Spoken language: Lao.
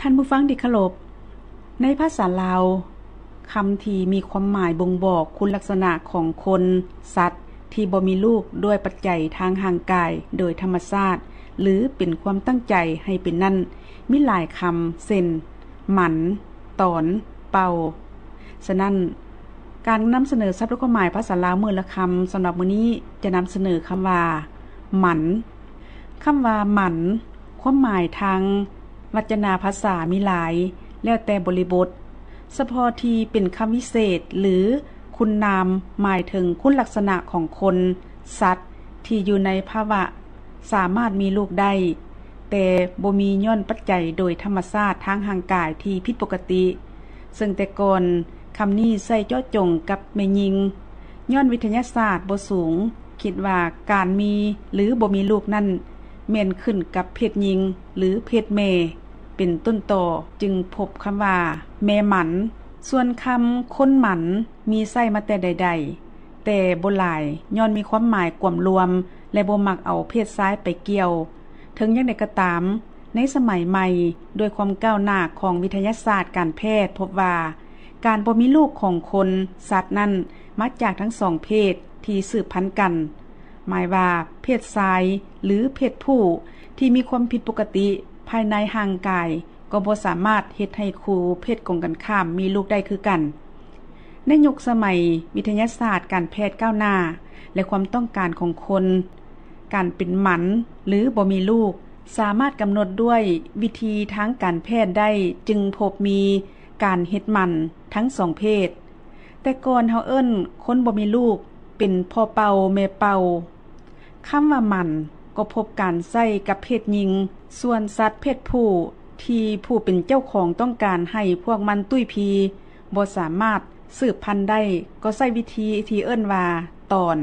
ທ່ານຜູ້ຟັງທີ່ເຄົາລົບ, ໃນພາສາລາວ, ຄຳທີ່ມີຄວາມໝາຍບົ່ງບອກຄຸນລັກສະນະຂອງຄົນ, ສັດທີ່ບໍ່ມີລູກດ້ວຍປັດໄຈທາງຮ່າງກາຍໂດຍທຳມະຊາດ ຫຼື ເປັນຄວາມຕັ້ງໃຈໃຫ້ເປັນນັ້ນ, ມີຫຼາຍຄຳ ເຊັ່ນ ໝັນ, ຕອນ, ເປົ່າ. ສະນັ້ນ, ການນຳສະເໜີສັບລະຄວາມໝາຍພາສາລາວມື້ລະຄຳສຳລັບມື້ນີ້ ຈະນຳສະເໜີຄຳວ່າ ໝັນ. ຄຳວ່າ ໝັນ ຄວາມໝາຍທາງວັດຈະນາພາສາມີຫຼາຍ, ແລ້ວແຕ່ບໍລິບົດ. ສະເພາະທີ່ເປັນຄຳວິເສດ ຫຼື ຄຸນນາມ ໝາຍເຖິງຄຸນລັກສະນະຂອງຄົນ, ສັດທີ່ຢູ່ໃນພາວະສາມາດມີລູກໄດ້, ແຕ່ບໍ່ມີຍ້ອນປັດໄຈໂດຍທຳມະຊາດທາງຮ່າງກາຍທີ່ຜິດປົກກະຕິ. ເຊິ່ງແຕ່ກ່ອນ, ຄຳນີ້ໃຊ້ເຈາະຈົງກັບແມ່ຍິງ, ຍ້ອນວິທະຍາສາດບໍ່ສູງ, ຄິດວ່າການມີ ຫຼື ບໍ່ມີລູກນັ້ນ ແມ່ນຂຶ້ນກັບເພດຍິງ ຫຼື ເພດແມ່ ເປັນຕົ້ນຕໍ, ຈຶ່ງພົບຄຳວ່າ ແມ່ໝັນ. ສ່ວນຄຳ ຄົນໝັນ ມີໃຊ້ມາແຕ່ໃດໆ, ແຕ່ບໍ່ຫຼາຍ, ຍ້ອນມີຄວາມໝາຍກວມລວມ ແລະ ບໍ່ມັກເອົາເພດຊາຍໄປກ່ຽວ. ເຖິງຢ່າງໃດກໍຕາມ, ໃນສະໄໝໃໝ່, ດ້ວຍຄວາມກ້າວໜ້າຂອງວິທະຍາສາດການແພດ, ພົບວ່າການບໍ່ມີລູກຂອງຄົນ, ສັດນັ້ນ ມາຈາກທັງສອງເພດທີ່ສືບພັນກັນ. ໝາຍວ່າເພດຊາຍ ຫຼື ເພດຜູ້ທີ່ມີຄວາມຜິດປົກກະຕິພາຍໃນຮ່າງກາຍ ກໍບໍ່ສາມາດເຮັດໃຫ້ຄູ່ເພດກົງກັນຂ້າມມີລູກໄດ້ຄືກັນ. ໃນຍຸກສະໄໝວິທະຍາສາດການແພດກ້າວໜ້າ ແລະ ຄວາມຕ້ອງການຂອງຄົນ, ການເປັນໝັນ ຫຼື ບໍ່ມີລູກ ສາມາດກຳນົດດ້ວຍວິທີທາງການແພດໄດ້, ຈຶ່ງພົບມີການເຮັດໝັນທັງສອງເພດ. ແຕ່ກ່ອນເຮົາເອີ້ນຄົນບໍ່ມີລູກເປັນພໍ່ເປົ່າແມ່ເປົ່າ. ຄຳວ່າໝັນກໍພົບການໃຊ້ກັບເພດຍິງ, ສ່ວນສັດເພດຜູ້ທີ່ຜູ້ເປັນເຈົ້າຂອງຕ້ອງການໃຫ້ພວກມັນຕຸ້ຍພີ ບໍ່ສາມາດສືບພັນໄດ້, ກໍໃຊ້ວິທີທີ່ເອີ້ນວ່າຕອນ.